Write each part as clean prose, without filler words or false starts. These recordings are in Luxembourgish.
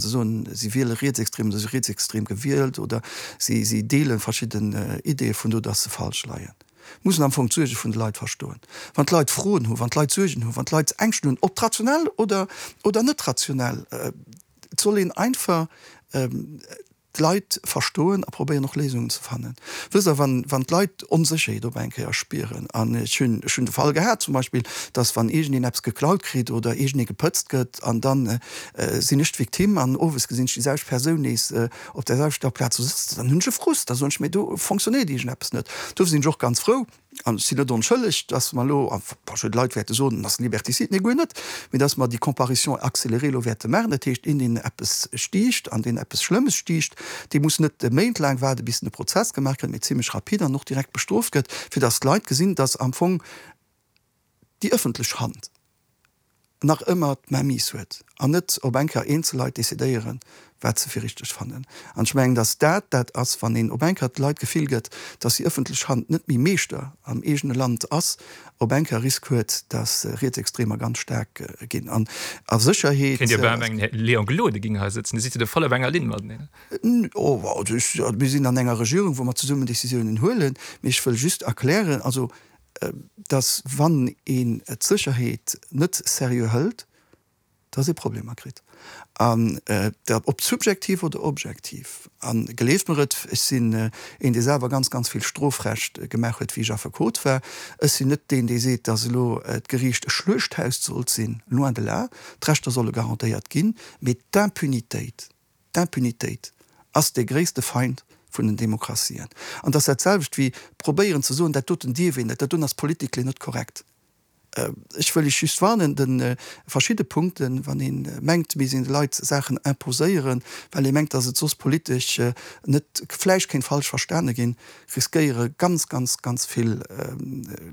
Se soen, si wiele rietsextrem oder si rietsextrem gewielt oder si si deele verschidden Ideeë vun do, dass se falsch leien. Mussen am Fong d'Suerge vun de Leit verstoen. Wann d'Leit Froen hunn, wann d'Leit Suergen hunn, wann d'Leit Ängschten hunn, ob rationell oder oder net rationell, et soll een einfach d'Leit verstoen a probéieren och Léisungen ze fannen. Wësst Der, wann, wann d'Leit Onsécherheet op eng Kéier spieren, an ech hunn, ech hunn de Fall gehat zum Beispill, datt wann iergendeen eppes geklaut kritt oder iergendee gepëtzt gëtt an da sinn ech d'Victime an owes gesinn ech déi selwecht Persoun nees op där selwechter Plaz do sëtzen, dann hunn ech e Frust, da soen ech mir, do fonctionnéiert iergendeppes net. Dofir sinn ech och ganz frou, An ech sinn net onschëlleg, dass mer elo, a verschidde Leit wäerte soen, dat ass liberticide, nee guer net, mee dass mer déi Comparution accélérée elo wäerte maachen. Dat heescht, een, deen eppes stiicht an deen eppes Schlëmmes stiicht, dee muss net méintlaang waarden, bis en e Prozess gemaach kritt, mee zimlech rapide an och direkt bestrooft gëtt, fir dass d'Leit gesinn, dass am Fong déi ëffentlech Hand, nach ëmmer d'Mainmise huet an net op eng Kéier eenzel Leit decidéieren, wat se fir richteg fannen. An ech mengen, datt dat dat ass, wann een op eng Kéier de Leit d'Gefill gëtt, datt déi ëffentlech Hand net méi Meeschter am eegene Land ass, op eng Kéier Risk huet, datt Rietsextremer ganz staark ginn. An a Sécherheet. Kéint Dir bal mengen, Här Léon Gloden géing hei sëtzen, Dir sidd jo do voll op enger Linn mateneen. Oh, also ech, mir sinn an enger Regierung, wou mer zesummen Décisiounen huelen, mee ech wëll just erklären, also dass wann een d'Sécherheet net seriö hëlt, dass ee Problemer kritt, an dat ob subjektiv oder objektiv. A gleeft mer et, ech sinn een, dee selwer ganz, ganz vill Strofrecht gemaach huet, wéi ech Affekot war. Ech sinn net deen, dee seet, dass elo d'Geriicht e Schluechthaus sollt sinn, loin de là. D'Rechter solle garantéiert ginn, mee d'Impunitéit, D'Impunitéit ass dee gréisste Feind vun den Demokratien. An et ass dat selwecht wéi probéieren ze soen, dat doten dierf een net, dat doten ass politically net korrekt. Ech wëll Iech just warnen, de verschidde Punkten, wann ee mengt, mir sinn de Leit Saachen imposéieren, well ee mengt, datt et soss politesch net vläicht kéint falsch verstane ginn, riskéiere ganz, ganz, ganz vill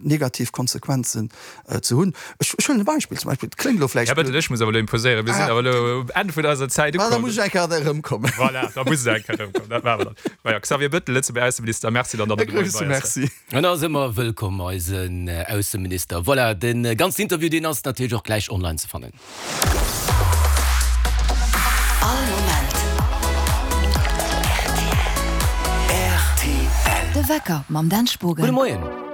negativ Konsequenzen ze hunn. Ech huelen e Beispill, zum Beispill, et kléngt elo vläicht. Här Bettel, ech muss awer elo imposéieren, mir sinn awer elo um Enn vun eiser Zäit ukomm. Da muss ech eng Kéier erëmkommen. Voilà, da muss Der eng Kéier erëmkommen, dat maache mer dann. Majo, Xavier Bettel, Lëtzebuerger Ausseminister, Merci dann, datt Der de Moien bei eis waart. Merci. En ass ëmmer wëllkomm, eisen Ausseminister. Voilà, de ganzen Interview, deen ass natierlech och gläich online ze fannen. All Moment rtl. De Wecker mam Dan Spogen. Gudde Moien.